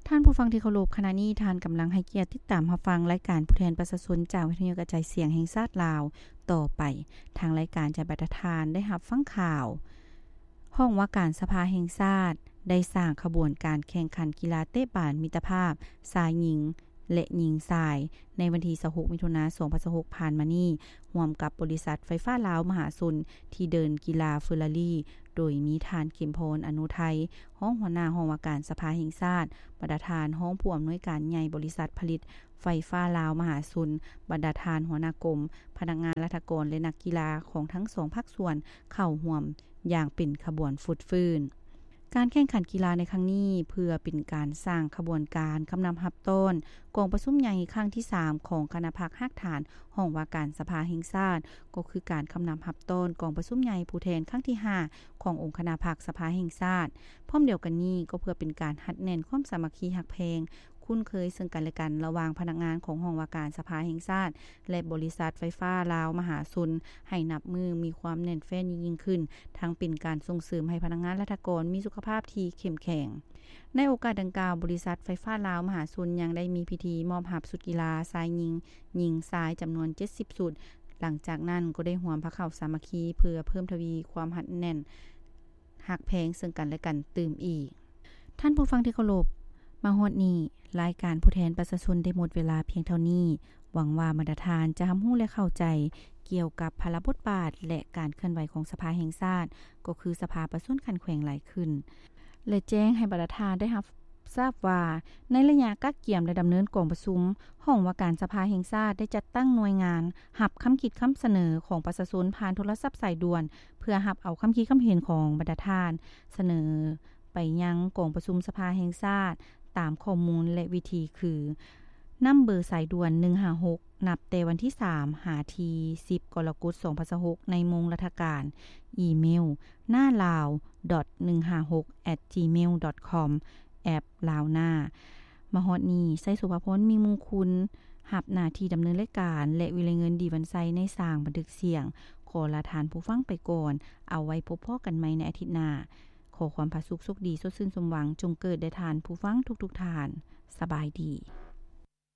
ທ່ານຜູ້ຟັງທີ່ເຄົາລົບ, ຂະນະນີ້ທ່ານກຳລັງໃຫ້ກຽດຕິດຕາມຮັບຟັງລາຍການຜູ້ແທນປະຊາຊົນຈາກວິທະຍຸກະຈາຍສຽງແຫ່ງຊາດລາວ. ຕໍ່ໄປ, ທາງລາຍການຈະໃຫ້ບັນດາທ່ານໄດ້ຮັບຟັງຂ່າວ, ຫ້ອງວ່າການສະພາແຫ່ງຊາດໄດ້ສ້າງຂະບວນການແຂ່ງຂັນກິລາເຕະບານມິດຕະພາບຊາຍຍິງ ແລະ ຍິງຊາຍ ໃນວັນທີຊາວຫົກ ມິຖຸນາ ສອງພັນຊາວຫົກ ຜ່ານມານີ້, ຮ່ວມກັບບໍລິສັດໄຟຟ້າລາວມະຫາຊົນ ທີ່ເດີ່ນກິລາເຟີລາຣີ ໂດຍມີທ່ານ ເຂັມພອນ ອະນຸໄທ ຮອງຫົວໜ້າຫ້ອງວ່າການສະພາແຫ່ງຊາດ, ບັນດາທ່ານຮອງຜູ້ອຳນວຍການໃຫຍ່ບໍລິສັດຜະລິດໄຟຟ້າລາວມະຫາຊົນ, ບັນດາທ່ານຫົວໜ້າກົມ, ພະນັກງານລັດຖະກອນ ແລະ ນັກກິລາຂອງທັງສອງພາກສ່ວນ ເຂົ້າຮ່ວມຢ່າງເປັນຂະບວນຟົດຟື້ນ. ການແຂ່ງຂັນກິລາໃນຄັ້ງນີ້ ເພື່ອເປັນການສ້າງຂະບວນການຄຳນັບຮັບຕ້ອນກອງປະຊຸມໃຫຍ່ຄັ້ງທີສາມ ຂອງຄະນະພັກຮາກຖານຫ້ອງວ່າການສະພາແຫ່ງຊາດ, ກໍຄືການຄຳນັບຮັບຕ້ອນກອງປະຊຸມໃຫຍ່ຜູ້ແທນຄັ້ງທີຫ້າ ຂອງອົງຄະນະພັກສະພາແຫ່ງຊາດ. ພ້ອມດຽວກັນນີ້, ກໍເພື່ອເປັນການຮັດແໜ້ນຄວາມສາມັກຄີຮັກແພງ ຄຸ້ນເຄີຍເຊິ່ງກັນແລະກັນ ລະຫວ່າງພະນັກງານຂອງຫ້ອງວ່າການສະພາແຫ່ງຊາດ ແລະ ບໍລິສັດໄຟຟ້າລາວມະຫາຊົນ ໃຫ້ນັບມື້ມີຄວາມແໜ້ນແຟ້ນຍິ່ງໆຂຶ້ນ, ທັງເປັນການສົ່ງເສີມໃຫ້ພະນັກງານລັດຖະກອນມີສຸຂະພາບທີ່ເຂັ້ມແຂງ. ໃນໂອກາດດັ່ງກ່າວ, ບໍລິສັດໄຟຟ້າລາວມະຫາຊົນຍັງໄດ້ມີພິທີມອບຮັບຊຸດກິລາຊາຍຍິງ, ຍິງຊາຍຈຳນວນເຈັດສິບຊຸດ. ຫຼັງຈາກນັ້ນກໍໄດ້ຮ່ວມພາເຂົ້າສາມັກຄີ ເພື່ອເພີ່ມທະວີຄວາມຮັດແໜ້ນ ຮັກແພງເຊິ່ງກັນແລະກັນຕື່ມອີກ. ທ່ານຜູ້ຟັງທີ່ເຄົາລົບ, ມາຮອດນີ້, ລາຍການຜູ້ແທນປະຊາຊົນໄດ້ໝົດເວລາພຽງເທົ່ານີ້. ຫວັງວ່າບັນດາທ່ານຈະຮັບຮູ້ ແລະ ເຂົ້າໃຈກ່ຽວກັບພາລະບົດບາດ ແລະ ການເຄື່ອນໄຫວຂອງສະພາແຫ່ງຊາດ, ກໍຄືສະພາປະຊາຊົນຂັ້ນແຂວງຫຼາຍຂຶ້ນ ແລະ ແຈ້ງໃຫ້ບັນດາທ່ານໄດ້ຮັບ ຊາບວ່າ ໃນໄລຍະກະກຽມ ແລະ ດຳເນີນກອງປະຊຸມ, ຫ້ອງວ່າການສະພາແຫ່ງຊາດໄດ້ຈັດຕັ້ງໜ່ວຍງານຮັບຄຳຄິດຄຳສະເໜີຂອງປະຊາຊົນຜ່ານໂທລະສັບສາຍດ່ວນ ເພື່ອຮັບເອົາຄຳຄິດຄຳເຫັນຂອງບັນດາທ່ານ ສະເໜີໄປຍັງກອງປະຊຸມສະພາແຫ່ງຊາດ ຕາມຂໍ້ມູນ ແລະ ວິທີຄື ນຳເບີສາຍດ່ວນ ໜຶ່ງຫ້າຫົກ ນັບແຕ່ວັນທີສາມ ຫາທີສິບ ກໍລະກົດ ສອງພັນຊາວຫົກ ໃນໂມງລັດຖະການ, ອີເມວ ໜ້າລາວ ໜຶ່ງຫ້າຫົກ ແອັດຈີເມວ ດອດຄອມ, ແອັບ ລາວໜ້າ. ມາຮອດນີ້, ໄຊ ສຸພາພອນ ມີມຸງຄຸນ ຮັບໜ້າທີ່ດຳເນີນລາຍການ ແລະ ວິໄລເງິນ ດີວັນໄຊ ໃນສາງບັນທຶກສຽງ ຂໍລາທ່ານຜູ້ຟັງໄປກ່ອນ. ເອົາໄວ້ພົບພໍ້ກັນໃໝ່ໃນອາທິດໜ້າ. ຂໍຄວາມຜາສຸກໂຊກດີ ສົດຊື່ນສົມຫວັງ ຈົ່ງເກີດແດ່ທ່ານຜູ້ຟັງທຸກໆທ່ານ. ສະບາຍດີ.